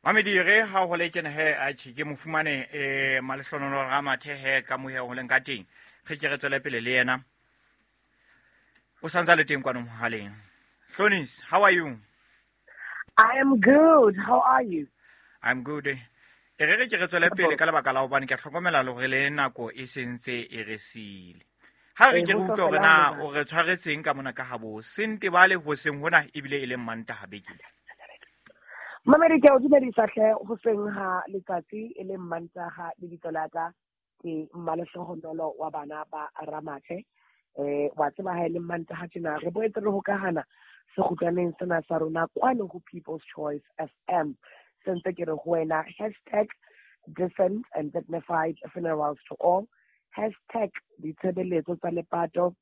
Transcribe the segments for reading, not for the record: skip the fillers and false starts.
Mamedi re ha ho le tjena he atjhe ke mo fumane Malehlohonolo Ramathe he ka mohe ho leng ka teng. Re ke re tswele pele le yena. O santsa le teng kwano mohaleng. Hlonis, how are you? I am good. How are you? I'm good. E re re ke re tswele pele ka lebaka la hobane ke a hlokomela le hore le nako e sentse e re siile. Ha re ke re utlwe hore na o re tshwaretseng ka mona ka habo sentebale hoseng hona ebile e leng Mantaha bekeng. Mamedi, ke a o dumedisa hle hoseng ha letsatsi e leng Mantaha. Lebitso la ka ke Mmalehlohonolo wa bana ba Ramathe. Wa tseba ha e le Mantaha tjena re boetse re hokahana sekgutlwaneng sena sa rona kwano ho People's Choice FM. Se ntse ke re ho wena hashtag decent and dignified funerals to all, hashtag ditshebeletso tsa lepato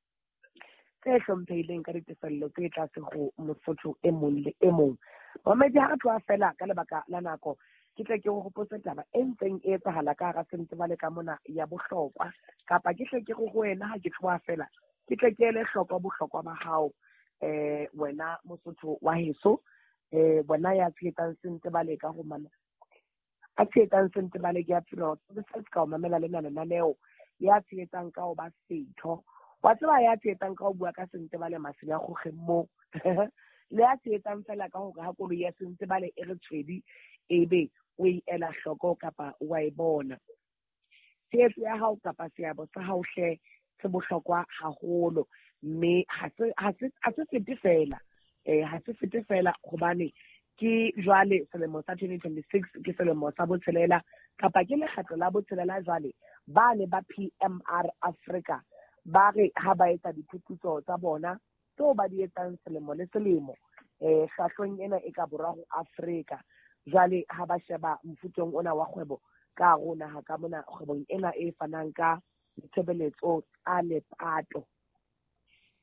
tse hlomphehileng ka ditefello tse tlase ho Mosotho e mong le e mong. Mamedi, ha re tloha fela ka lebaka la nako, ke tle ke o hopotse taba e ntseng e etsahala ka hara Sentebale ka mona ya bohlokwa, kapa ke hle ke re ho wena ha ke tloha fela, ke tle ke ele hloko bohlokwa ba hao, wena Mosotho wa heso, wena ya tshehetsang Sentebale ka ho mamela, a tshehetsang Sentebale ke ya funeral services ka ho mamela lena lenaneo, ya tshehetsang ka ho ba setho, wa tseba, ya tshehetsang ka ho bua ka Sentebale masenya kgokgeng moo, le ya tshehetsang fela ka hore ha koloi ya Sentebale e re tshwedi ebe o e ela hloko kapa wa e bona. Tshehetso ya hao kapa seabo sa hao hle se bohlokwa haholo, mme ha se fete fela, ha se fete fela hobane ke jwale selemo sa 2026 ke selemo sa botshelela kapa ke lekgetlo la botshelela jwale ba ne ba PMR Africa ba re ha ba etsa diphuputso tsa bona tseo ba di etsang selemo le selemo hlahlong ena e ka borwa ho Afrika. Jwale ha ba sheba mofutong ona wa kgwebo ka hare ho naha ka mona, kgwebong ena e fanang ka ditshebeletso tsa lepato,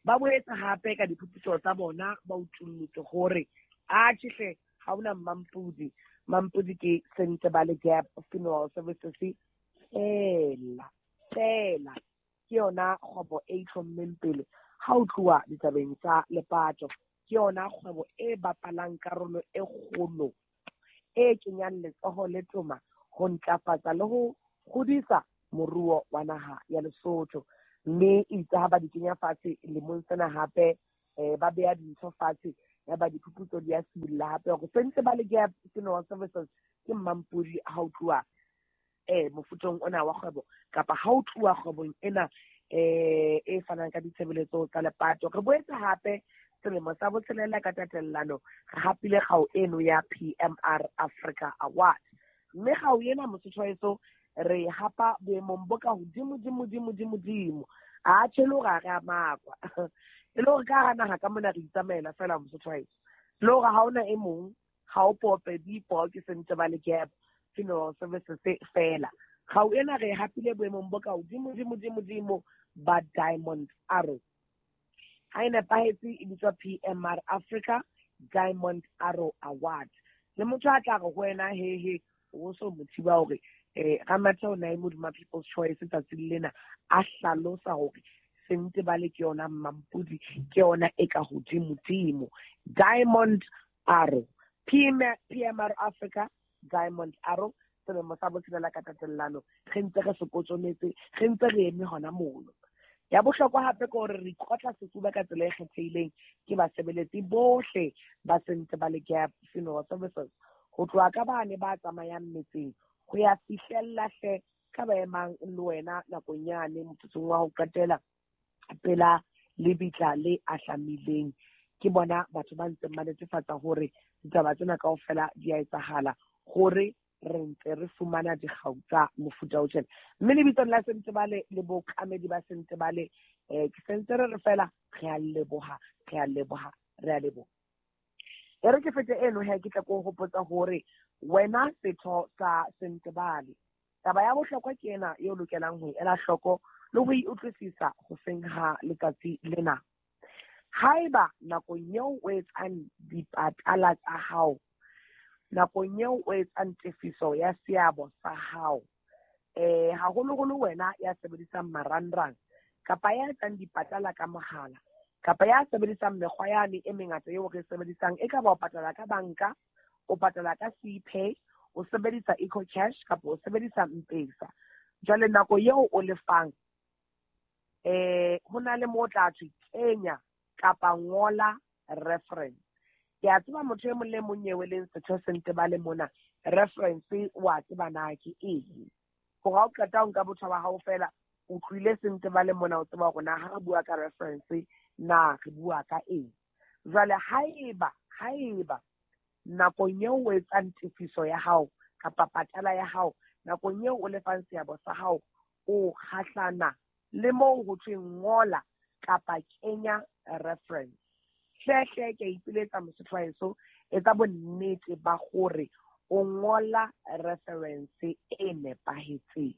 ba boetse hape ka diphuputso tsa bona ba utullotse hore atjhe hle ha hona Mampudi. Mampudi ke Sentebale Gap Funeral Services fela fela, ke yona kgwebo e itlhommeng pele ha o tluwa ditabeng tsa lepato. Ke yona kgwebo e bapalang karolo e kgolo e kenyang letsoho le toma ho ntlafatsa le ho hodisa moruo wa naha ya Lesotho. Mme itse ha ba di kenya fatshe lemong sena hape, ba beha dintho fatshe ya ba diphuputso di a sibolla hape hore Sentebale Gap Funeral Services ke Mampudi ha o tluwa mofutong ona wa kgwebo kapa ha o tluwa kgwebong ena e fanang ka ditshebeletso tsa lepato. Re boetse hape selemo sa botshelela ka tatellano re hapile kgau eno ya PMR Africa Award, mme kgau ena Mosotho wa heso re hapa boemong bo ka hodimo dimo dimo dimo dimo. A tjhe le hore ha re a makwa, e le hore ka hara naha ka mona re itsamaela fela Mosotho wa heso, le hore ha hona e mong, ha o pope dipo ke Sentebale Gap Funeral Services fela. Kgau ena re hapile boemong bo ka hodimo dimo dimo dimo ba Diamond Arrow. Ha e nepahetse e bitswa PMR Africa Diamond Arrow Award. Le motho a tla re ho wena he he o so mo thiba hore Ramathe o na e modima People's Choice tsatsing lena a hlalosa hore Sentebale ke yona Mampudi, ke yona e ka hodimo dimo. Diamond Arrow, PMR Africa Diamond Arrow, selemo sa botshelela ka tatellano re ntse re se kotsometse, re ntse re eme hona mono. Ya bohlokwa hape ke hore re ikotla sefuba ka tsela e kgethehileng ke basebeletsi bohle ba Sentebale Gap Funeral Services, ho tloha ka bane ba tsamayang metseng ho ya fihlella hle ka ba emang le wena nakong yane motsotsong wa ho qetela pela lebitla le ahlamileng. Ke bona batho ba ntseng ba netefatsa hore ditaba tsena kaofela di a etsahala, hore re ntse re fumana dikgau tsa mofuta o tjena. Mme lebitsong la Sentebale le bookamedi ba Sentebale, ke sentse re re fela re a leboha, re a leboha, re a leboha. E re ke fete eno he, ke tla ko hopotsa hore wena setho sa Sentebale, taba ya bohlokwa ke ena eo lokelang ho e ela hloko le ho e utlwisisa hoseng ha letsatsi lena. Haeba nakong eo o etsang dipatala tsa hao, nakong eo o etsang tefiso ya seabo sa hao, haholoholo wena ya sebedisang marangrang kapa ya etsang dipatala ka mohala kapa ya sebedisang mekgwa yane e mengata eo re sebedisang, e ka ba o patala ka banka, o patala ka CPay, O sebedisa EcoCash kapa o sebedisa M-Pesa. Jwale nako eo o lefang ho na le mo tla thwe kenya kapa ngola reference. Ke a tseba motho e mong le mong eo e leng setho Sentebale mona, reference wa tseba na ke eng. Hore ha o qeta ho nka botho ba hao fela, o tlohile Sentebale mona, o tseba hore na ha re bua ka reference na re bua ka eng. Jwale haeba nakong eo o etsang tefiso ya hao kapa patala ya hao, nakong eo o lefang seabo sa hao, o kgahlana le moo ho thweng ngola kapa kenya reference. Hle ke a ipiletsa mosotho wa heso, etsa bonnete ba hore o ngola reference e nepahetseng.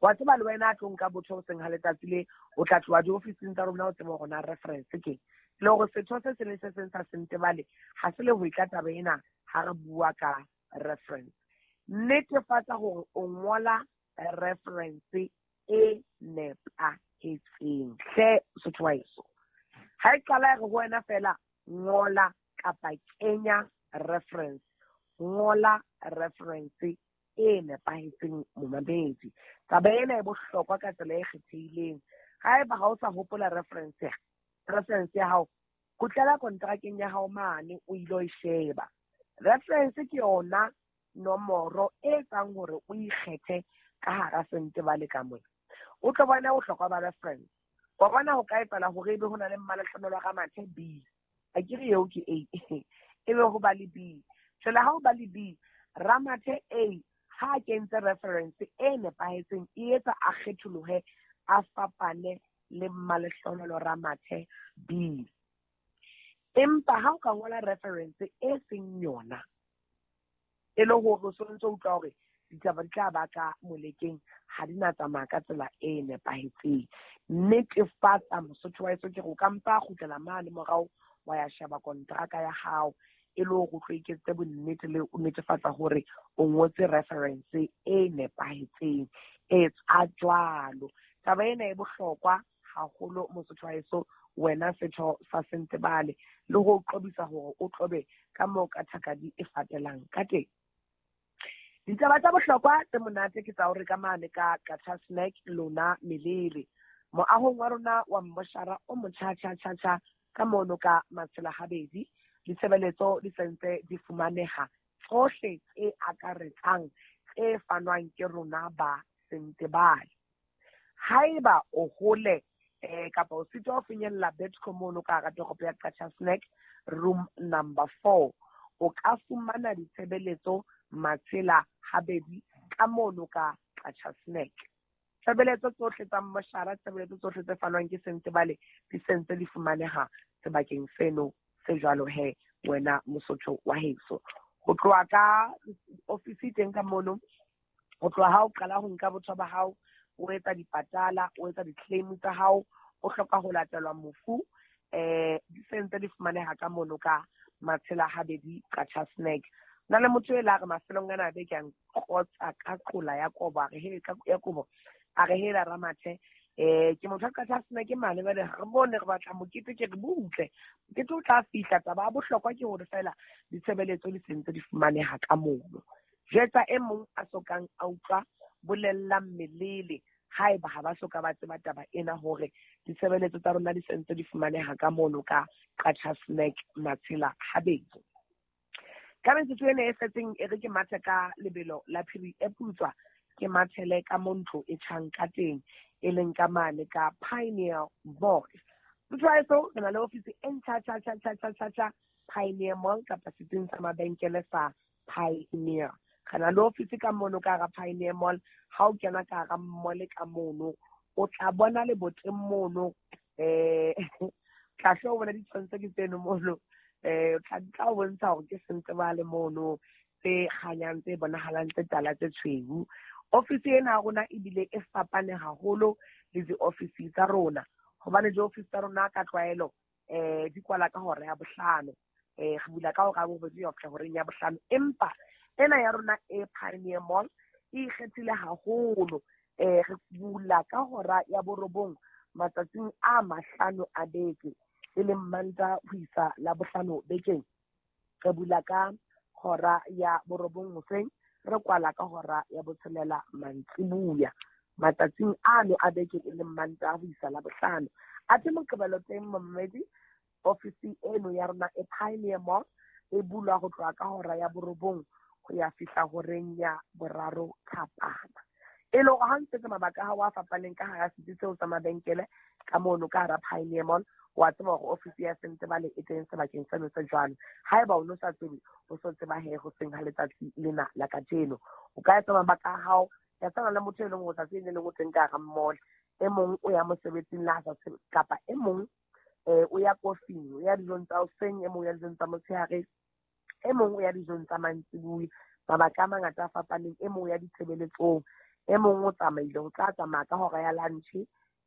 Wa tseba le wena a tlo nka botho hoseng ha letsatsi le, o tla tloha diofising tsa rona o tseba hore na reference ke. Le hore setho se seng le se seng sa Sentebale ha se le ho itla taba ena ha re bua ka reference. Netefatsa hore o ngola reference e nepahetseng. Hle mosotho wa heso, ha e qala e re ho wena fela ngola kapa kenya reference, ngola reference e nepahetseng momamedi. Taba ena e bohlokwa ka tsela e kgethehileng. Haeba ha o sa hopola reference ya hao, kgutlela kontrakeng ya hao mane o ilo e sheba. Reference ke yona nomoro e etsang hore o ikgethe ka hara Sentebale ka mona. O tlo bona bohlokwa ba reference. Wa bona ho ka etsahala hore ebe ho na le Mmalehlohonolo Ramathe B. Akere eo ke A. Ebe ho ba le B. Jwale ha ho ba le B, Ramathe A ha kentse reference e nepahetseng, e etsa a kgetholohe, a fapane le Mmalehlohonolo Ramathe B. Empa ha o ka ngola reference e seng yona, e le hore o sontso utlwa hore ditaba di tla ba ka molekeng, ha di na tsamaya ka tsela e nepahetseng. Netefatsa mosotho wa heso ke re o ka mpa kgutlela mane morao wa ya sheba kontraka ya hao, e le hore o tlo iketsetse bonnete le o netefatsa hore o ngotse reference e nepahetseng. Etsa jwalo. Taba ena e bohlokwa haholo mosotho wa heso, wena setho sa Sentebale, le ho qobisa hore o tlobe ka moo ka thakadi e fatelang ka teng. Ditaba tsa bohlokwa tse monate ke tsa hore ka mane ka Qacha's Nek lona melele. Moahong wa rona wa mmoshara o motjha tjha tjha tjha ka mono ka Matshela Habedi, ditshebeletso di sentse di fumaneha tsohle tse akaretsang tse fanwang ke rona ba Sentebale. Haeba o hole kapa o sitwa ho finyella Betco mono ka hara toropo ya Qacha's Nek, room number 4, o ka fumana ditshebeletso Matshela Habedi ka mono ka Qacha's Nek. Tshebeletso tsohle tsa mmoshara, tshebeletso tsohle tse fanwang ke Sentebale di sentse di fumaneha sebakeng seno se jwalo he wena mosotho wa heso. Ho tloha ka ofisi teng ka mono, ho tloha ha o qala ho nka botho ba hao, o etsa dipatala, o etsa di-claim tsa hao, o hloka ho latelwa mofu, di sentse di fumaneha ka mono ka Matshela Habedi Qacha's Nek. Na le motho e la re mafelong ana be ke nqotsa ka qola ya kobo, a re he ka ya kobo, a re hela Ramathe, ke motho a Qacha's Nek mane ba re bone re batla mokete, ke re butle mokete o tla fihla. Taba ya bohlokwa ke hore fela ditshebeletso di sentse di fumaneha ka mono. Jwetsa e mong a sokang a utlwa, bolella mmelele haeba ha ba soka ba tseba taba ena hore ditshebeletso tsa rona di sentse di fumaneha ka mono ka Qacha's Nek Matshela Habedi. Ka metsotso ena e setseng e re ke mathe ka lebelo la phiri e putswa, ke mathele ka montlo e tjhang ka teng, e leng ka mane ka Pioneer Mall. Motho wa heso, re na le ofisi e ntjha tjha tjha tjha tjha tjha tjha Pioneer Mall kapa setsing sa mabenkele sa Pioneer. Re na le ofisi ka mono ka hara Pioneer Mall. Ha o kena ka hara mall ka mono, o tla bona leboteng mono, tla hle o bona ditshwantsho ke tseno mono, tla o bontsha hore ke Sentebale mono, tse kganyang, tse bonahalang, tse tala, tse tshweu. Ofisi ena ya rona ebile e fapane haholo le diofisi tsa rona, hobane diofisi tsa rona ka tlwaelo di kwala ka hora ya bohlano, re bula ka hora ya bobedi ho fihla horeng ya bohlano. Empa ena ya rona e Pioneer Mall e ikgethile haholo, re bula ka hora ya borobong matsatsing a mahlano a beke, e leng Mantaha ho isa Labohlano bekeng. Re bula ka hora ya 9 hoseng, re kwala ka hora ya 6 mantsibuya. Matsatsing ano a beke e leng Mantaha ho isa Labohlano. Athe Moqebelo teng momedi, ofisi eno ya rona e Pioneer Mall e bulwa ho tloha ka hora ya 9 ho ya fihla horeng ya 3 thapama. E le hore ha ntse mabaka a hao a fapaneng ka hara setsi seo sa mabenkele ka mono ka hara Pioneer Mall, wa tseba hore ofisi ya Sentebale e teng sebakeng seno se jwalo. Haeba o no sa tsebe, o so tseba he ho seng ha letsatsi lena la kajeno. O ka etsa mabaka a hao ya tshwana le motho e leng hore tsatsi le leng o teng ka hara mall, e mong o ya mosebetsing la sa kapa e mong o ya kofing, o ya dijong tsa hoseng, e mong o ya dijong tsa motshehare, e mong o ya dijong tsa mantsibuya. Mabaka a mangata a fapaneng, e mong o ya ditshebeletsong, e mong o tsamaile, o tla tsamaya ka hora ya lunch,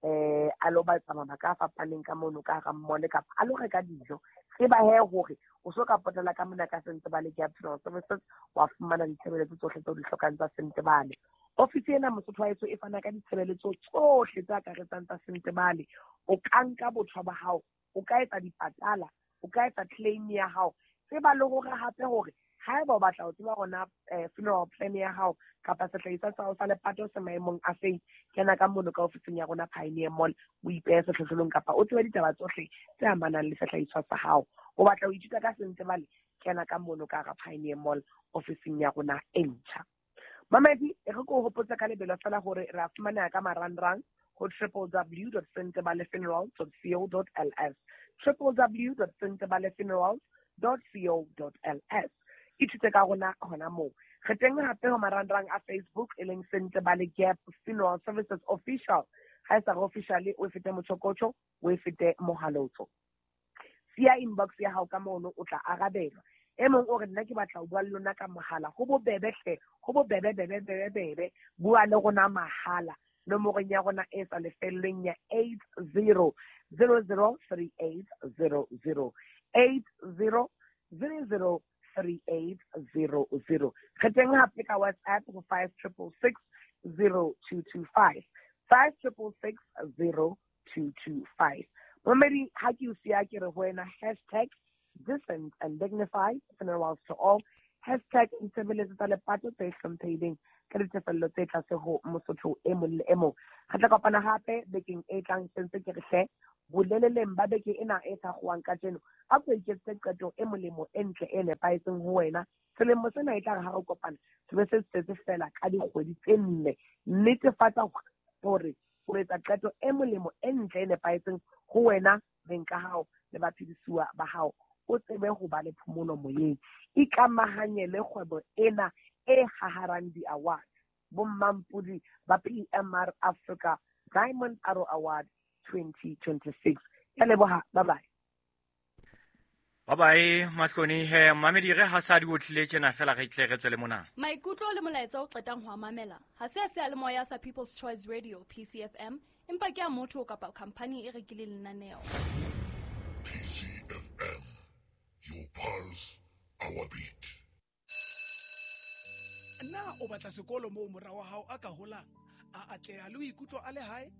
a lo batla mabaka a fapaneng ka mono ka hara mall kapa a lo reka dijo. Tseba he hore o so ka potela ka mona ka Sentebale Gap Funeral Services, wa fumana ditshebeletso tsohle tseo di hlokang tsa Sentebale. Ofisi ena Mosotho wa heso e fana ka ditshebeletso tsohle tse akaretsang tsa Sentebale. O ka nka botho ba hao, o ka etsa dipatala, o ka etsa claim ya hao. Tseba le hore hape hore haeba o batla ho tseba hore funeral plan ya hao kapa sehlahiswa sa hao sa lepato se maemong a feng, kena ka mono ka ofising ya rona Pioneer Mall, o ipehe sehlohlolong kapa o tsebe ditaba tsohle tse amanang le sehlahiswa sa hao. O batla ho ithuta ka Sentebale, kena ka mono ka hara Pioneer Mall ofising ya rona e ntjha. Mamedi, re ko hopotsa ka lebelo fela hore re a fumaneha ka marangrang ho www.sentebalefunerals.co.ls, www.sentebalefunerals.co.ls. Ithute ka rona hona moo. Re teng hape ho marangrang a Facebook e leng Sentebale Gap Funeral Services Official. Ha e sa re official, o fete motjhokotjho, o fete mohalotso. Siya inbox ya hao ka mono, o tla arabelwa. E mong o re nna ke batla ho bua le lona ka mohala, ho bobebe hle, ho bobebe bebe bebe bebe, bua le rona mahala nomorong ya rona e sa lefellweng ya 80 00 3800, 80 00 3800. Re teng hape ka WhatsApp ho 5666 0225, 5666 0225. Momedi, ha ke o siya ke re ho wena hashtag decent and dignified funerals to all, hashtag ditshebeletso tsa lepato tse hlomphehileng ka ditefello tse tlase ho Mosotho e mong le e mong. Re tla kopana hape bekeng e tlang, sentse ke re hle boleleleng ba beke ena e thakgowang kajeno, a ko iketsetse qeto e molemo e ntle e nepahetseng ho wena. Selemo sena e tla re ha re kopana se be se setse fela ka dikgwedi tse 4. Netefatsa hore o etsa qeto e molemo e ntle e nepahetseng ho wena, beng ka hao le baphedisuwa ba hao, o tsebe ho ba le phomolo moyeng. Ikamahanye le kgwebo ena e haharang di-award, bommampodi ba PMR Africa Diamond Arrow Award 2026. Ke leboha, bye bye. Bye bye Mahloni. He mamedi, re ha sa di otlile tjena fela re tle re tswele mona. Maikutlo le molaetsa o qetang ho mamela ha se a seyalemoya sa People's Choice Radio PCFM, empa ke a motho kapa company e rekileng lenaneo. PCFM, your pulse, our beat. Na o batla sekolo moo mora wa hao a ka holang, a atleha le ho ikutlwa a le hae?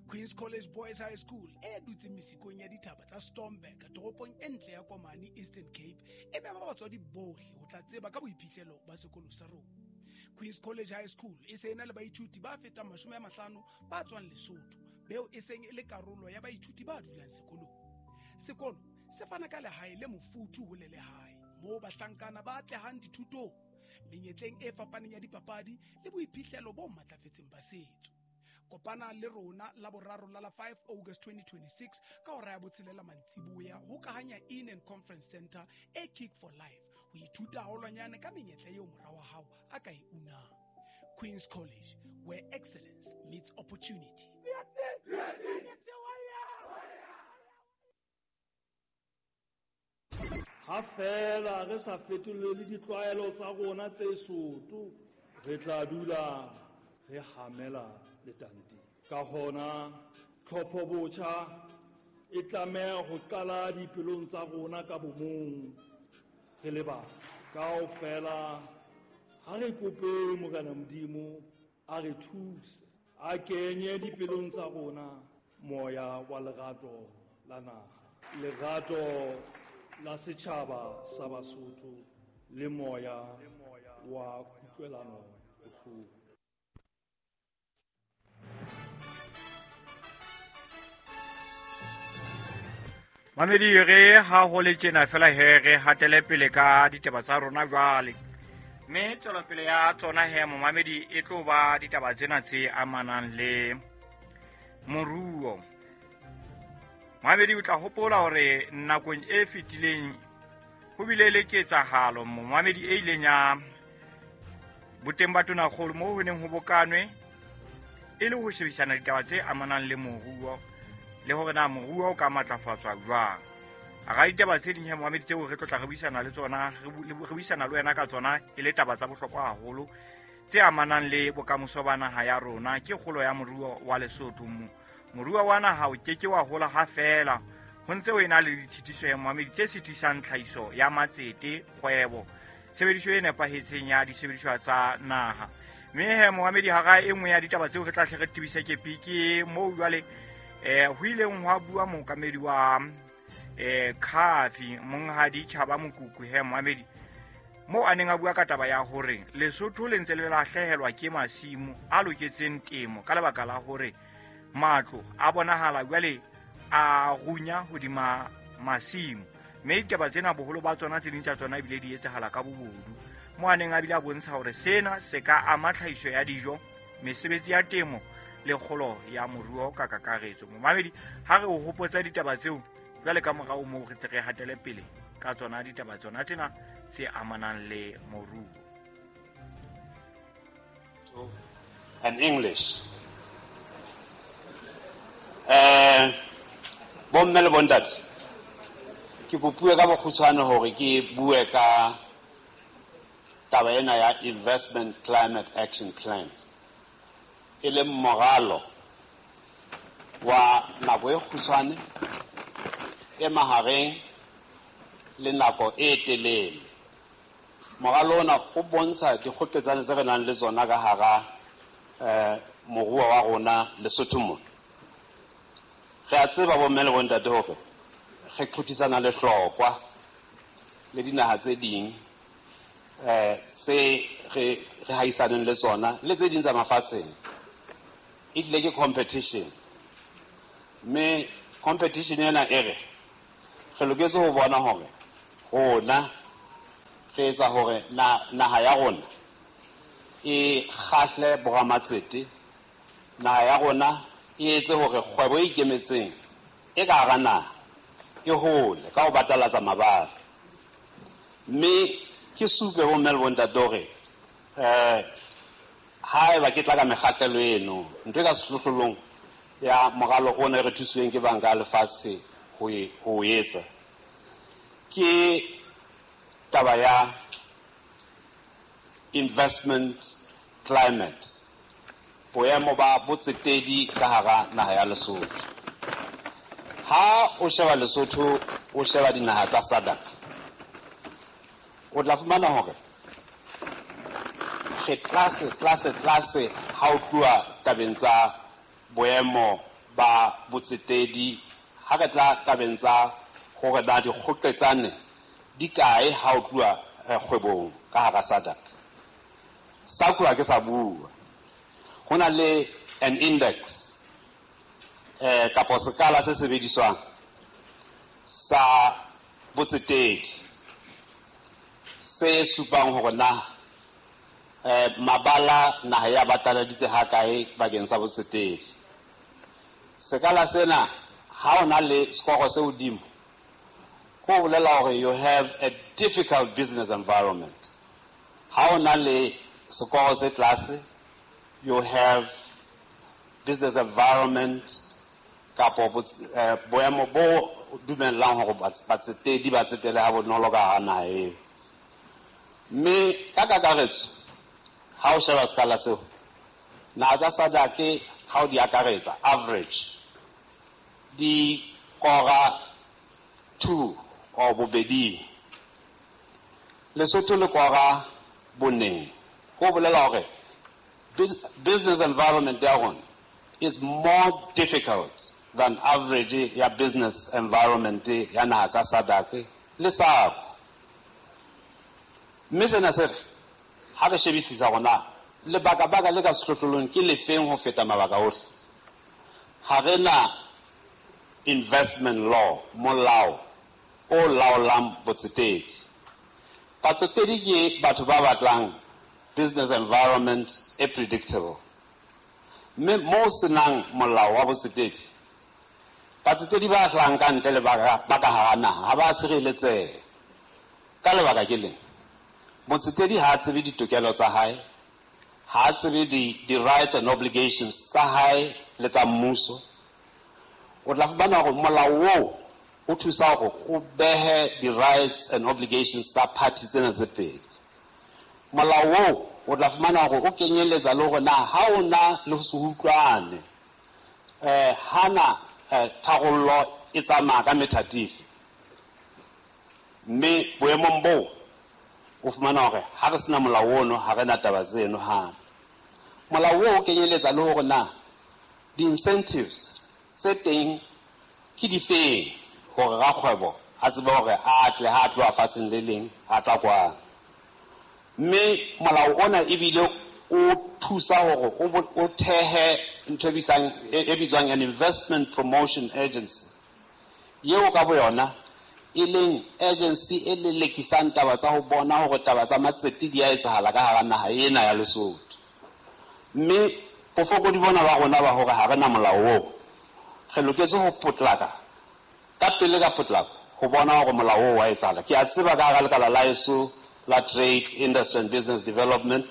Queen's College Boys High School e dutseng mesikong ya dithaba tsa Stormberg, toropong e ntle ya Komani, Eastern Cape, e mema batswadi bohle ho tla tseba ka boiphihlelo ba sekolo sa rona. Queen's College High School e se ena le baithuti ba fetang 50 ba tswang Lesotho, beo e seng e le karolo ya baithuti ba dulang sekolong. Sekolo se fana ka lehae le mofuthu ho le lehae, moo bahlankana ba atlehang dithutong, menyetleng e fapaneng ya dipapadi le boiphihlelo bo matlafetseng ba setso. Kopana le rona la boraro la 5 August 2026 ka hora ya 6 mantsiboya ho Kahanya Inn and Conference Center e Kick for Life, ho ithuta haholwanyane ka menyetla eo mora wa hao a ka e unang. Queen's College, where excellence meets opportunity. Ha fela re sa fetolele ditlwaelo tsa rona tse soto, re tla dula re hamela letanteng. Ka hona tlhopho botjha e tlameha ho qala dipelong tsa rona ka bomong re le batho. Kaofela ha re kope Morena Modimo a re thuse, a kenye dipelong tsa rona moya wa lerato la naha, lerato la setjhaba sa Basotho Le moya wa kutlwelano bohloko. Mamedi re ha ho le tjena fela he re hatele pele ka ditaba tsa rona jwale. Mme tswelopele ya tsona he momamedi e tlo ba ditaba tsena tse amanang le moruo. Momamedi o tla hopola hore nakong e fetileng ho bile le ketsahalo momamedi e ileng ya boteng ba tonakgolo moo ho neng ho bokanwe e le ho shebisana ditaba tse amanang le moruo le hore na moruo o ka matlafatswa jwang. Hara ditaba tse ding he momamedi tseo re tlo tla re buisana le tsona, re buisana le wena ka tsona e le taba tsa bohlokwa haholo tse amanang le bokamoso ba naha ya rona ke kgolo ya moruo wa Lesotho. Moruo wa naha o keke wa hola ha feela ho ntse ho ena le ditshitiso ya momamedi tse sitisang tlhahiso ya matsete, kgwebo, tshebediso e nepahetseng ya disebediswa tsa naha. Mme he momamedi hara e nngwe ya ditaba tseo re tla hle re tebise kepi ke moo jwale ho ileng hwa bua mookamedi wa Khafi monghadi Tjhaba Mokuku he momamedi moo a neng a bua ka taba ya hore Lesotho le ntse le lahlehelwa ke masimo a loketseng temo ka lebaka la hore matlo a bonahala jwale a runya hodima masimo. Mme ditaba tsena boholo ba tsona tse ding tsa tsona ebile di etsahala ka bobodu. Moo a neng a bile a bontsha hore sena se ka ama tlhahiso ya dijo, mesebetsi ya temo le kgolo ya moruo ka kakaretso. Momamedi ha re o hopotsa ditaba tseo jwale ka morao moo re tle re hatele pele ka tsona ditaba tsona tsena tse amanang le moruo. And English. Bomme le bontate, ke kopuwe ka bokgutshwane hore ke bue ka taba ena ya Investment Climate Action Plan, e leng moralo wa nako e kgutshwane, e mahareng le nako e telele. Moralo ona o bontsha dikgoketsane tse re nang le tsona ka hara moruo wa rona Lesotho mona. Re a tseba bomme le bontate hore re qothisana le hlokwa le dinaha tse ding tse re haisaneng le tsona le tse ding tsa mafatsheng. E tlile ke competition, mme competition ena e re re loketse ho bona hore rona re etsa hore naha ya rona e kgahle boramatsete, naha ya rona e etse hore kgwebo e ikemetseng e ka hara naha e hole ka ho batalatsa mabala. Mme ke supe ho mme le bontate hore haeba ke tla ka mekgahlelo eno, ntho e ka sehlohlolong ya moralo ona e re thusitsweng ke banka ya lefatshe ho o etsa ke taba ya investment climate, boemo ba botsetedi ka hara naha ya Lesotho. Ha o sheba Lesotho, o sheba dinaha tsa SADC, o tla fumana hore re tlase tlase tlase ha o tluwa tabeng tsa boemo ba botsetedi, ha re tla tabeng tsa hore na dikgoqetsane di kae ha o tluwa kgwebong ka hara SADC. SACU ha ke sa bua, ho na le an index kapo sekala se sebediswang sa botsetedi se supang hore na mabala naha ya bataladitse ha kae bakeng sa botsetedi. Sekala sena ha o na le skoro se hodimo, ko bolela hore you have a difficult business environment. Ha o na le sekoro se tlase, you have business environment kapo boemo bo dumellang hore batsetedi ba tsetele ha bonolo ka hara naha eo. Mme ka kakaretso ha o sheba sekala seo, naha tsa SADC ha o di akaretsa average di kora 2 or bobedi, Lesotho le kora boneng. Ko bolela hore business environment ya rona is more difficult than average ya business environment ya naha tsa SADC le SACU. Mme sena se re ha re shebisisa hore na lebaka-baka le ka sehlohlolong ke lefeng ho feta mabaka ohle. Ha re na investment law, molao o laolang botsetedi. Batsetedi ke batho ba batlang business environment e predictable. Mme moo senang molao wa botsetedi, batsetedi ba hlahang ka ntle le ba ka hara naha ha ba sireletseha. Ka lebaka ke leng, motsetedi ha a tsebe ditokelo tsa hae, ha a tsebe di-rights and obligations tsa hae le tsa mmuso. O tla fumana hore molao oo o thusa hore o behe di-rights and obligations tsa party tsena tse pedi. Molao oo o tla fumana hore o kenyeletsa le hore na ha o na le ho se utlwane, hana tharollo e tsamaya ka methati efe. Mme boemong boo o fumana hore ha re sena molao ono, ha re na taba tseno hape. Molao oo o kenyeletsa le hore na di-incentives tse teng ke difeng hore rakgwebo a tsebe hore a tle ha a tloha fatsheng le leng a tla kwano. Mme molao ona ebile o thusa hore o thehe ntho e bitswang an investment promotion agency, yeo ka boyona e leng agency e lelekisang taba tsa ho bona hore taba tsa matsete di a etsahala ka hara naha ena ya Lesotho. Mme bofokodi bona ba rona ba hore ha re na molao oo, re loketse ho potlaka ka pele ka potlako ho bona hore molao oo wa etsahala. Ke a tseba ka hara lekala la heso la Trade, Industry and Business Development,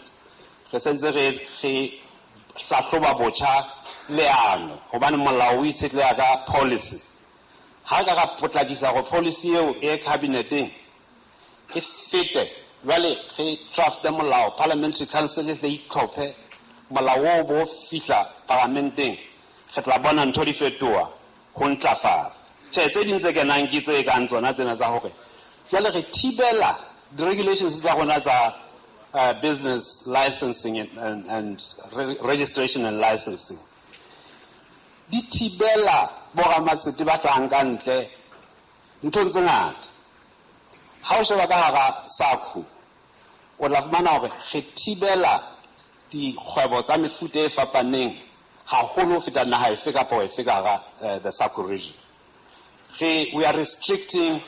re sentse re hlahloba botjha leano, hobane molao o itshetleha ka policy. Ha ka ra potlakisa hore policy eo e cabineteng e fete, jwale re drafte molao, Parliamentary Council e tle itlhophe, molao oo bo fihla paramenteng, re tla bona ntho di fetoha ho ntlafala. Tjhe, tse ding tse kenang ke tse kang tsona tsena tsa hore jwale re thibela di-regulations tsa rona tsa business licensing and registration and licensing. Di thibela boramatsete ba hlahang ka ntle nthong tse ngata. Ha o sheba ka hara SACU, o tla fumana hore re thibela dikgwebo tsa mefuta e fapaneng haholo ho feta naha efe kapa efe ka hara the SACU region. We are restricting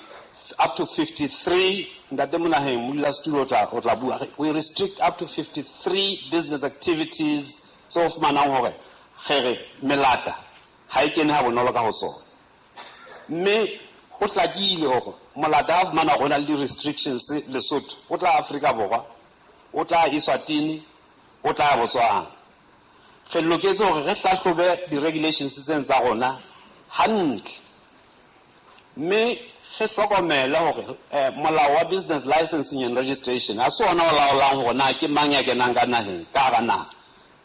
up to 53, Ntate Monaheng, modulasetulo o tla bua, we restrict up to 53 business activities tse o fumanang hore re re melata ha e kene ha bonolo ka ho tsona. Mme ho hlakile hore molata ha fumana hore ho na le di-restrictions Lesotho, o tla Afrika Borwa, o tla Eswatini, o tla Botswana. Re loketse hore re hlahlobe di-regulations tsena tsa rona hantle. Mme re hlokomele hore molao wa business licensing and registration ha se ona o laolang hore na ke mang ya kenang ka naheng, ka hara naha,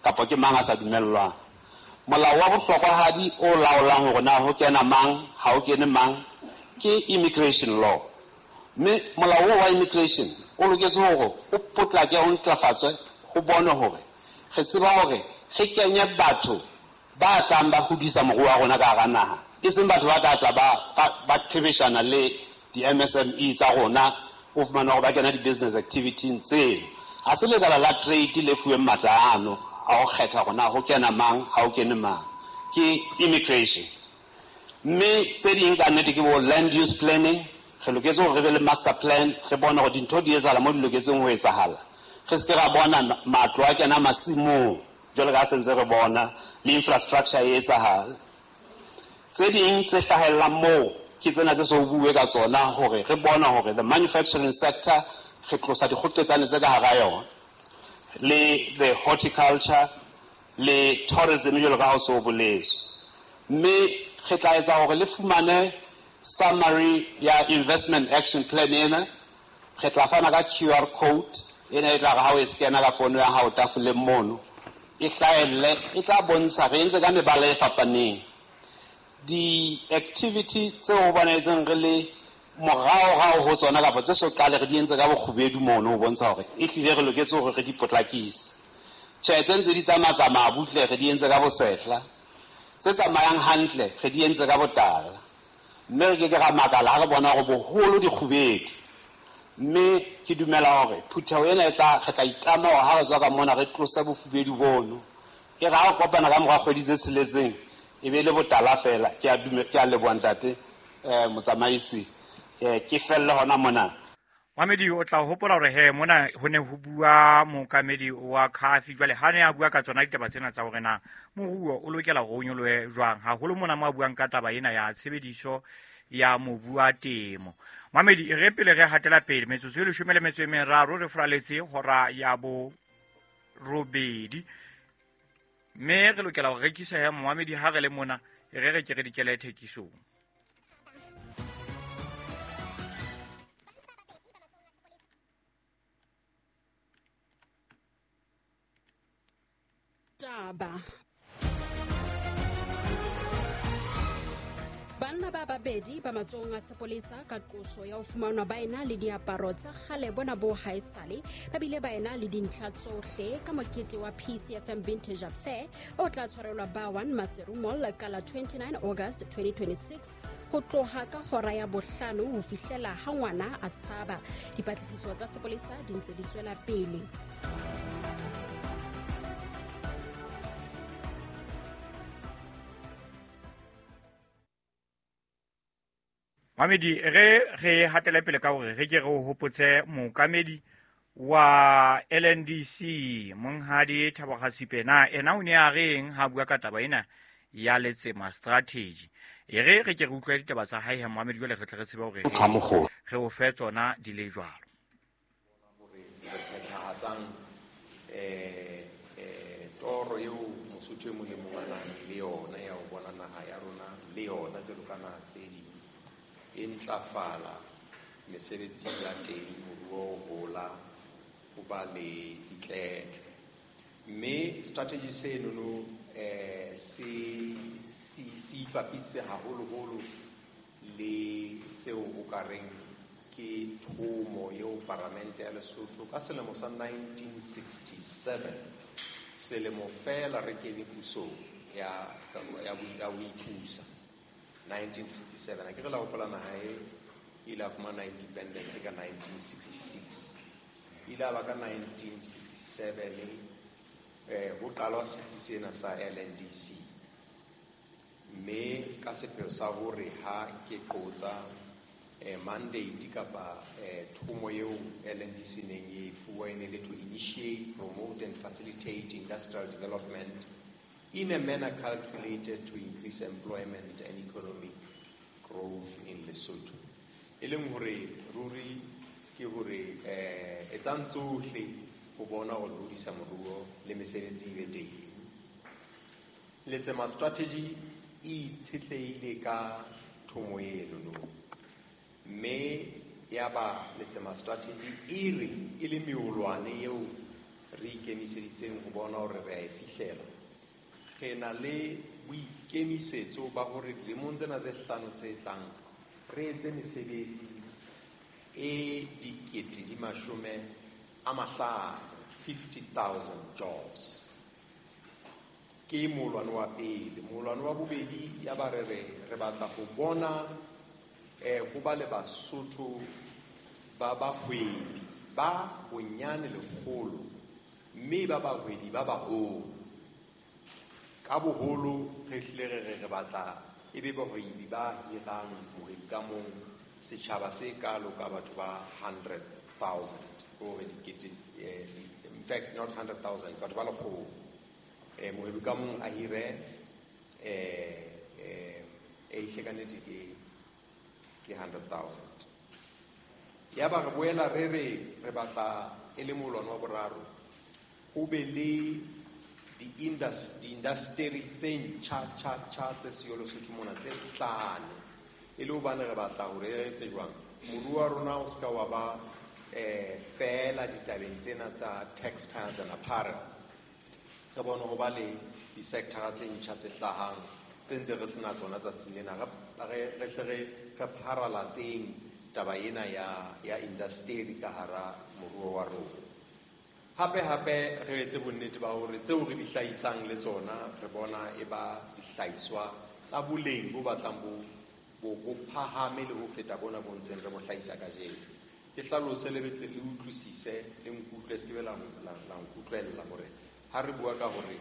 kapa ke mang a sa dumellwang. Molao wa bohlokwahadi o laolang hore na ho kena mang, ha ho kene mang, ke immigration law. Mme molao wa immigration o loketse hore o potlake, o ntlafatswe, ho bonwe hore re tseba hore re kenye batho ba tlang ba hodisa moruo wa rona ka hara naha, e seng batho ba tla tla ba qhebeshana le di-MSME tsa rona, o fumana hore ba kena di-business activity tseo. Ha se lekala la trade le fuweng matla ano a ho kgetha hore na ho kena mang, ha ho kene mang, ke immigration. Mme tse ding ka nnete ke bo land use planning. Re loketse hore re be le master plan, re bone hore dintho di etsahala mo di loketseng ho etsahala. Re se ke ra bona matlo a kena masimong jwalo ka ha sentse re bona le infrastructure e etsahala. Tse ding tse hlahellang moo ke tsena tse so bue ka tsona, hore re bona hore the manufacturing sector re tlosa dikgoqetsane tse ka hara yona, le the horticulture le tourism jwalo ka ha o so boletswe. Mme re tla etsa hore le fumane summary ya investment action plan ena. Re tla fana ka QR code ena e tla re ha o e scanner ka fono ya hao tafoleng mono, e hlahelle, e tla bontsha re entse ka mebala e fapaneng di-activity tseo ho bonahetseng re le moraorao ho tsona kapa tse so qale re di entse ka bokgubedu mono, ho bontsha hore e hlile re loketse hore re di potlakise. Tjhe, tse ntse di tsamatsamaya butle re di entse ka bosehla, tse tsamayang hantle re di entse ka botala. Mme re ke ke ra makala ha re bona hore boholo dikgubedu. Mme ke dumela hore phutheho ena e tla re tla itlama hore ha re tswa ka mona re tlose bofubedu bono. E re ha re kopana ka mora kgwedi tse tsheletseng e be le botala fela. Ke a ke a leboha ntate motsamaisi. Ke felle hona mona. Mamedi o tla hopola hore he mona ho ne ho bua mookamedi wa Khafi. Jwale ha ne a bua ka tsona ditaba tsena tsa hore na moruo o lokela hore o nyolohe jwang, haholo mona mo a buang ka taba ena ya tshebediso ya mobu wa temo. Mamedi e re pele re hatela pele metsotso e 13 re furaletse hora ya 8, mme re lokela ho rekisa ya momamedi ha re le mona e re re ke re dikele thekisong. Taba. Banna ba babedi ba matsohong a sepolesa ka qoso ya ho fumanwa ba ena le diaparo tsa kgale bona bo haesale, ba bile ba ena le dintlha tsohle ka mokete wa PCFM Vintage Affair o tla tshwarelwa ba 1 Maseru Mall ka la 29 August 2026 ho tloha ka hora ya 5 ho fihlela ha ngwana a tshaba. Dipatlisiso tsa sepolesa di ntse di tswela pele. Mamedi re re hatele pele ka hore re ke re o hopotse mookamedi wa LNDC Monghadi Thabo Khasipe na ena o ne a reng ha bua ka taba ena ya Letsema strategy. E re re ke re utlwe ditaba tsa hae Mohamedi, jwale re tle re tsebe hore re o fe tsona di le jwalo. Hore re phethahatsang toro eo Mosotho e mong le mong a nang le yona ya ho bona naha ya rona le yona jwalo ka naha tse ding e ntlafala, mesebetsi ya teng, moruo o hola, ho ba le ditletle. Mme strategy senono se ipapise haholoholo le seo o ka reng ke thomo eo Paramente ya Lesotho ka selemo sa 1967, selemo fela re kene pusong ya ho ipusa. 1967, a ke re la hopola naha e ile a fumana independence ka 1966. Ile a ba ka 1967 ho qalwa setsi sena sa LNDC, mme ka sepheo sa hore ha ke qotsa mandate kapa thomo eo LNDC neng e fuwa e ne le to initiate, promote and facilitate industrial development in a manner calculated to increase employment and economic growth in Lesotho. E leng hore ruri ke hore etsang tsohle ho bona hore hodisa moruo le mesebetsi e be teng. Letsema strategy e itshetlehile ka thomo eno, mme ya ba Letsema strategy e re e le meolwane eo re ikemiseditseng ho bona hore re a e fihlela. Re na le boikemisetso ba hore dilemong tsena tse hlano tse tlang re etse mesebetsi e 50,000, 50,000 jobs. Ke molwane wa pele. Molwane wa bobedi ya ba re re batla ho bona ho ba le Basotho ba bahwebi ba bonyane 100, mme ba bahwebi ba baholo. Ka boholo re hlile re re batla e be bahwebi ba hirang mohwebi ka mong setjhaba se kalo ka batho ba 100,000, hore dikete, in fact not 100,000, batho ba 100. Mohwebi ka mong a hire e hle ka nnete ke 100,000. Ya ba re boela re re batla e le molwane wa boraro ho be le di-industry tse ntjha tjha tse siyo Lesotho mona tse 5, e le hobane re batla hore re etse jwang moruo wa rona o ska wa ba fela ditabeng tsena tsa textiles and apparel. Re bone ho ba le di-sector tse ntjha tse hlahang tse ntse re sena tsona tsatsing lena, re hle re pharalatseng taba ena ya industry ka hara moruo wa rona. Hape hape re etse bonnete ba hore tseo re di hlahisang le tsona re bona e ba dihlahiswa tsa boleng bo batlang bo phahame le ho feta bona bo ntseng re bo hlahisa kajeno. Ke hlalose le betle le utlwisise le nkutlwe se ke be la nkutlwella hore ha re bua ka hore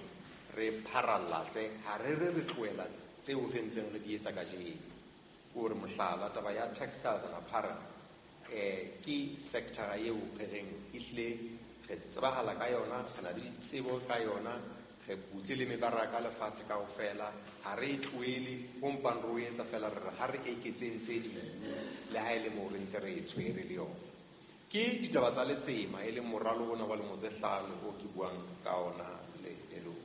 re pharallatse ha re re tlohela tseo re ntseng re di etsa kajeno. Hore mohlala taba ya textiles and apparel ke sector eo re reng ehlile re tsebahala ka yona, re na le ditsebo ka yona, re butse le mebaraka lefatshe kaofela, ha re e tlohele, ho mpang re o etsa fela re re ha re eketseng tse ding le ha e le moo re ntse re e tshwere le yona. Ke ditaba tsa letsema e leng moralo ona wa lemo tse 5 o ke buang ka ona le lona.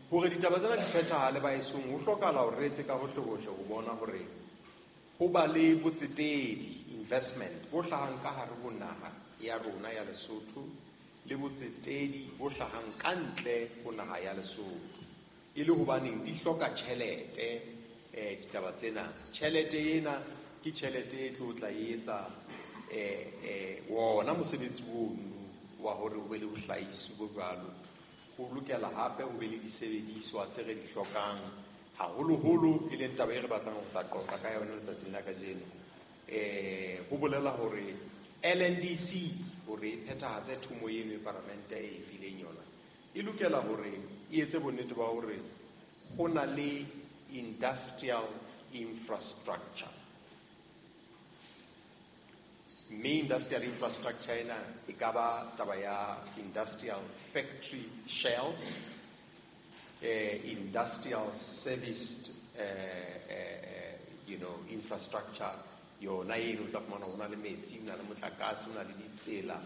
Hore ditaba tsena di phethahale baesong, ho hlokahala hore re etse ka hohle-hohle ho bona hore ho ba le botsetedi investment bo hlahang ka hare ho naha ya rona ya Lesotho le botsetedi bo hlahang ka ntle ho naha ya Lesotho. E le hobaneng di hloka tjhelete ditaba tsena. Tjhelete ena ke tjhelete e tlo tla etsa wona mosebetsi ono wa hore ho be le bohlahisi bo jwalo. Ho lokela hape ho be le disebediswa tse re di hlokang haholoholo, e leng taba e re batlang ho tla qoqa ka yona letsatsing la kajeno. Ho bolela hore LNDC hore e phethahatse thomo eno e paramente e fileng yona, e lokela hore e etse bonnete ba hore ho na le industrial infrastructure. Mme industrial infrastructure ena e ka ba taba ya industrial factory shells, industrial service infrastructure yona eno o tla fumana ho na le metsi, ho na le motlakase, ho na le ditsela,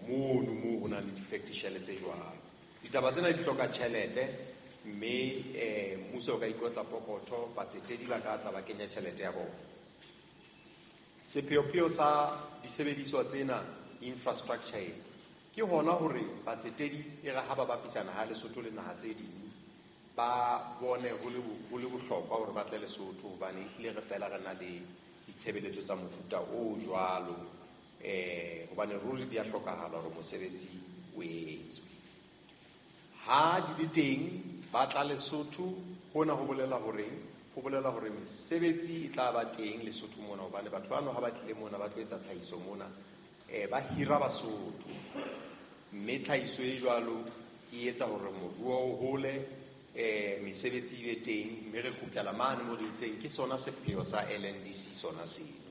mono moo ho na le di-factory shell tse jwalo. Ditaba tsena di hloka tjhelete, mme mmuso o ka ikotla pokotho, batsetedi ba ka tla ba kenya tjhelete ya bona. Sepheopheo sa disebediswa tsena infrastructure e ke hona hore batsetedi e re ha ba bapisana ha Lesotho le naha tse ding ba bone ho le bohlokwa hore ba tle Lesotho, hobane ehlile re fela re na le ditshebeletso tsa mofuta o jwalo, hobane ruri di a hlokahala hore mosebetsi o etswe. Ha di le teng ba tla Lesotho, hona ho bolela hore ho bolela hore mesebetsi e tla ba teng Lesotho mona, hobane batho bano ha ba tlile mona ba tlo etsa tlhahiso mona, ba hira Basotho, mme tlhahiso e jwalo e etsa hore moruo o hole, mesebetsi e be teng, mme re kgutlela mane mo re itseng ke sona sepheo sa LNDC sona seo.